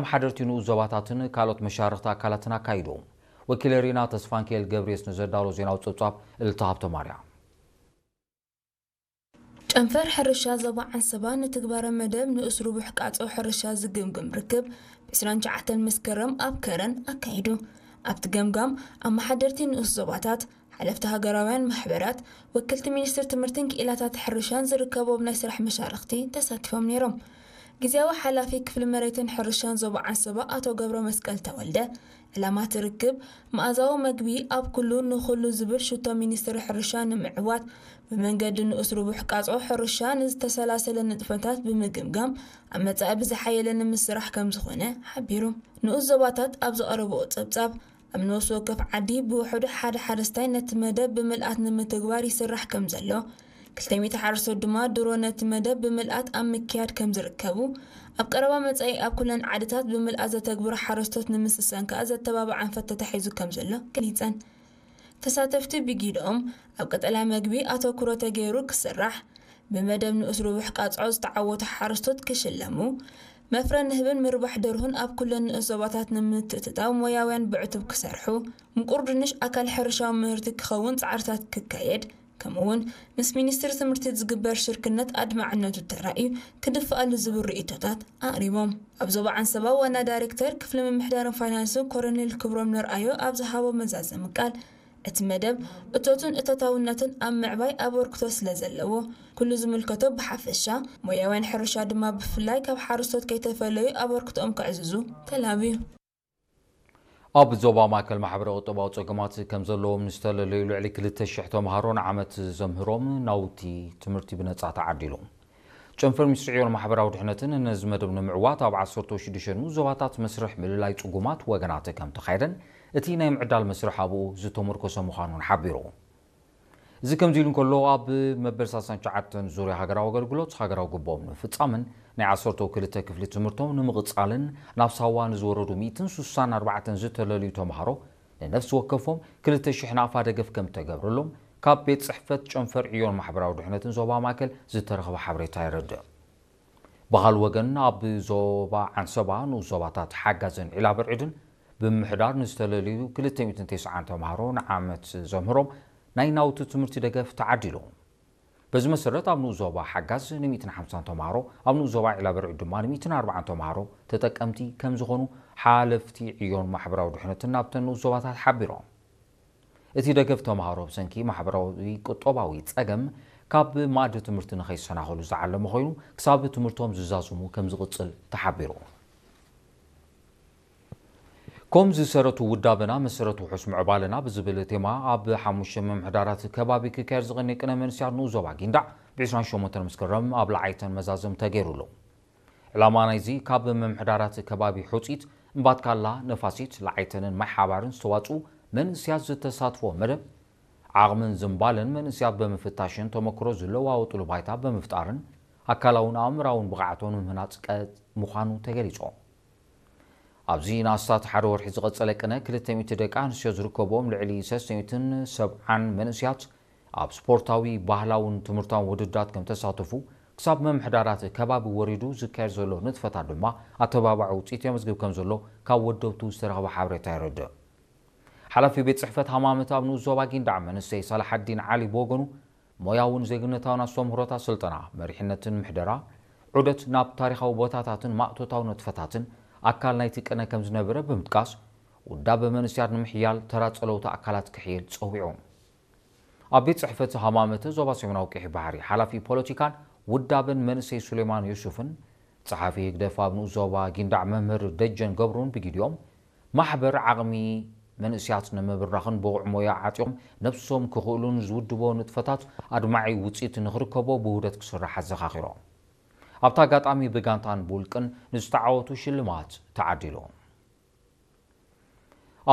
መሓደርቲ ንኡስ ዞባታትን ካልኦት መሻርኽቲ ኣካላትን ኣካይዱ። ወኪለ ሪና ተስፋንኪኤል ገብርየስ ንዘዳሎ ዜናዊ ጸብጻብ እልልታ ሃብተማርያም። ጨንፈር ሕርሻ ዞባ ዓንሰባ ንትግባረ መደብ ንኡስ ርቡሕ ቃጾ ሕርሻ ዝግምግም ርክብ ብ ዕስራን ትሽዓተን መስከረም ኣብ ከረን ኣካይዱ። ኣብቲ ገምጋም ኣመሓደርቲ ንኡስ ዞባታት፣ ሓለፍቲ ሃገራውያን ማሕበራት፣ ወክልቲ ሚኒስትር ትምህርትን ክኢላታት ሕርሻን ዝርከቦም ናይ ስራሕ መሻርኽቲ ተሳቲፎም ነይሮም። ግዝያዊ ሓላፊ ክፍሊ መሬትን ሕርሻን ዞባ ዓንሰባ ኣቶ ገብረ መስቀል ተወልደ፣ ዕላማ እቲ ርክብ መኣዛዊ መግቢ ኣብ ኩሉ ንኹሉ ዝብል ሽቶ ሚኒስትሪ ሕርሻ ንምዕዋት፣ ብመንገዲ ንኡስ ርቡሕ ቃጾ ሕርሻ ንዝተሰላሰለ ንጥፈታት ብምግምጋም ኣብ መጻኢ ብዝሓየለ ንምስራሕ ከም ዝኾነ ሓቢሩ። ንኡስ ዞባታት ኣብ ዘቐረብኦ ጸብጻብ፣ ኣብ ነፍሲ ወከፍ ዓዲ ብውሕዱ ሓደ ሓረስታይ ነቲ መደብ ብምልኣት ንምትግባር ይስራሕ ከም ዘሎ፣ ክልተ ሚእቲ ሓረስቶት ድማ ድሮ ነቲ መደብ ብምልኣት ኣብ ምክያድ ከም ዝርከቡ፣ ኣብ ቀረባ መጻኢ ኣብ ኩለን ዓድታት ብምልኣት ዘተግብሩ ሓረስቶት ንምስሳን ከኣ ዘተባብዕ ኣንፈት ተታሒዙ ከም ዘሎ ገሊጸን። ተሳተፍቲ ብጊድኦም፣ ኣብ ቀጠልያ መግቢ ኣተኩሮ ተገይሩ ክስራሕ፣ ብመደብ ንኡስ ርቡሕ ቃጽዖ ዝተዓወቱ ሓረስቶት ክሽለሙ፣ መፍረ ንህብን ምርባሕ ደርሁን ኣብ ኩለን ንኡስ ዞባታት ንምትእትታው ሞያውያን ብዕቱብ ክሰርሑ፣ ምቁር ድንሽ ኣካል ሕርሻዊ ምህርቲ ክኸውን ጻዕርታት ክካየድ፣ ከምኡ'ውን ምስ ሚኒስትሪ ትምህርቲ ዝግበር ሽርክነት ኣድማዕነቱ ተራእዩ ክድፍኣሉ ዝብል ርእይቶታት ኣቕሪቦም። ኣብ ዞባ ዓንሰባ ዋና ዳይሬክተር ክፍሊ ምምሕዳርን ፋይናንስን ኮሎኔል ክብሮም ነርኣዮ ኣብ ዝሃቦ መዛዘሚ ቃል፣ እቲ መደብ እቶትን እቶታውነትን ኣብ ምዕባይ ኣበርክቶ ስለ ዘለዎ፣ ኩሉ ዝምልከቶ ብሓፈሻ፣ ሞያውያን ሕርሻ ድማ ብፍላይ ካብ ሓረስቶት ከይተፈለዩ ኣበርክቶኦም ከዕዝዙ ተላብዩ። ኣብ ዞባ ማእከል ማሕበረ ቁጠባዊ ጸገማት ከም ዘለዎም ንዝተለለዩ ልዕሊ ክልተ ሽሕ ተምሃሮ ንዓመት ዘምህሮም ናውቲ ትምህርቲ ብነጻ ተዓዲሉ። ጨንፈር ሚኒስትሪ ዕዮን ማሕበራዊ ድሕነትን ነዚ መደብ ንምዕዋት ኣብ ዓሰርተ ሽዱሽተ ንኡስ ዞባታት መስርሕ ምልላይ ጽጉማት ወገናት ከም ተኻየደን እቲ ናይ ምዕዳል መስርሕ ኣብኡ ዝተመርኮሰ ምዃኑን ሓቢሩ። እዚ ከምዚ ኢሉ እንከሎ፣ ኣብ መበል ሰላሳን ትሽዓተን ዙርያ ሃገራዊ ኣገልግሎት ሃገራዊ ግብኦም ንምፍጻምን ናይ ዓሰርተው ክልተ ክፍሊ ትምህርቶም ንምቕጻልን ናብ ሳዋ ንዝወረዱ ሚእትን ስሳን ኣርባዕተን ዝተለልዩ ተምሃሮ ንነፍሲ ወከፎም ክልተ ሽሕ ናቕፋ ደገፍ ከም ተገብረሎም ካብ ቤት ጽሕፈት ጨንፈር ዕዮን ማሕበራዊ ድሕነትን ዞባ ማእከል ዝተረኽበ ሓበሬታ የረድእ። ብኻልእ ወገን፣ ኣብ ዞባ ዓንሰባ ንኡስ ዞባታት ሓጋዝን ዒላ በርዒድን ብምምሕዳር ንዝተለልዩ ክልተ ሚእትን ተስዓን ተምሃሮ ንዓመት ዘምህሮም ናይ ናውቲ ትምህርቲ ደገፍ ተዓዲሉ። በዚ መሰረት፣ ኣብ ንኡስ ዞባ ሓጋዝ ንሚእትን ሓምሳን ተምሃሮ፣ ኣብ ንኡስ ዞባ ዒላ በርዒድ ድማ ንሚእትን ኣርባዓን ተምሃሮ ተጠቀምቲ ከም ዝኾኑ ሓለፍቲ ዕዮን ማሕበራዊ ድሕነትን ናብተን ንኡስ ዞባታት ሓቢሮም። እቲ ደገፍ ተምሃሮ ብሰንኪ ማሕበራዊ ቁጠባዊ ጸገም ካብ መኣዲ ትምህርቲ ንኸይሰናኸሉ ዝዓለመ ኮይኑ፣ ክሳብ ትምህርቶም ዝዛዝሙ ከም ዝቕጽል ተሓቢሩ። ኮም ዝሰረቱ ውዳበና መሰረት ውሑስ ምዕባለና ብዝብል ቴማ ኣብ ሓሙሽተ ምምሕዳራት ከባቢ ክካየድ ዝቐነየ ቅነ መንእሰያት ንኡስ ዞባ ጊንዳዕ ብ ዕስራን ሸሞንተን መስከረም ኣብ ለዓይተን መዛዘም ተገይሩሉ። ዕላማ ናይዚ ካብ ምምሕዳራት ከባቢ ሑጺት፣ እምባትካላ፣ ነፋሲት፣ ለዓይተንን ማይ ሓባርን ዝተዋጽኡ መንእሰያት ዝተሳትፎ መደብ፣ ዓቕምን ዝንባለን መንእሰያት ብምፍታሽን ተመክሮ ዝለዋወጥሉ ባይታ ብምፍጣርን ኣካላውን ኣእምራውን ብቕዓቶም ንምህናጽ ቀ-፣ ምዃኑ ተገሊጹ። ኣብዚ ንኣስታት ሓደ ወርሒ ዝቐጸለ ቅነ ክልተ ሚእቲ ደቂ ኣንስትዮ ዝርከብዎም ልዕሊ ሰለስተ ሚእትን ሰብዓን መንእሰያት ኣብ ስፖርታዊ፣ ባህላውን ትምህርታውን ውድድራት ከም ተሳተፉ፣ ክሳብ ምምሕዳራት ከባቢ ወሪዱ ዝካየድ ዘሎ ንጥፈታት ድማ ኣተባባዒ ውጽኢት የመዝግብ ከም ዘሎ ካብ ወደብቱ ዝተረኽበ ሓበሬታ የረድእ። ሓላፊ ቤት ጽሕፈት ሃማመት ኣብ ንኡስ ዞባ ጊንዳዕ መንእሰይ ሳላሓዲን ዓሊ ብወገኑ፣ ሞያውን ዜግነታውን ኣስተምህሮታት ስልጠና፣ መሪሕነትን ምሕደራ፣ ዑደት ናብ ታሪኻዊ ቦታታትን ማእቶታዊ ንጥፈታትን ኣካል ናይቲ ቅነ ከም ዝነበረ ብምጥቃስ፣ ውዳበ መንእሰያት ንምሕያል ተራ ጸለውቲ ኣካላት ክሕይል ጸዊዑ። ኣብ ቤት ጽሕፈት ሃማመተ ዞባ ሰሜናዊ ቀይሕ ባሕሪ ሓላፊ ፖለቲካን ውዳበን መንእሰይ ሱሌማን ዩሱፍን ጸሓፊ ህግደፍ ኣብ ንኡስ ዞባ ጊንዳዕ መምህር ደጀን ገብሩን ብጊዲኦም፣ ማሕበር ዓቕሚ መንእሰያት ንምብራኽን ብቑዕ ሞያ ዓጢቖም ነብሶም ክኽእሉን ዝውድቦ ንጥፈታት ኣድማዒ ውጽኢት ንኽርከቦ ብውህደት ክስራሕ ኣዘኻኺሮም። ኣብቲ ኣጋጣሚ ብጋንታን ብውልቅን ንዝተዓወቱ ሽልማት ተዓዲሉ።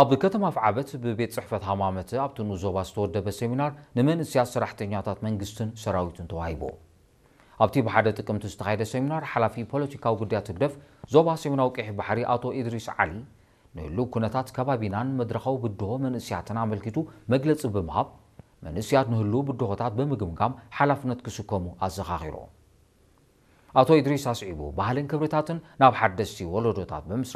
ኣብ ከተማ ኣፍዓበት ብቤት ጽሕፈት ሃማመተ ኣብቲ ንኡስ ዞባ ዝተወደበ ሴሚናር ንመንእሰያት ሰራሕተኛታት መንግስትን ሰራዊትን ተዋሂቡ። ኣብቲ ብሓደ ጥቅምቲ ዝተኻየደ ሴሚናር ሓላፊ ፖለቲካዊ ጉዳያት ህግደፍ ዞባ ሰሜናዊ ቀይሕ ባሕሪ ኣቶ ኢድሪስ ዓሊ ንህሉው ኩነታት ከባቢናን መድረኻዊ ብድሆ መንእሰያትን ኣመልኪቱ መግለጺ ብምሃብ፣ መንእሰያት ንህሉው ብድሆታት ብምግምጋም ሓላፍነት ክስከሙ ኣዘኻኺሩ። ኣቶ ኢድሪስ ኣስዒቡ፣ ባህልን ክብርታትን ናብ ሓደስቲ ወለዶታት ብምስራጽ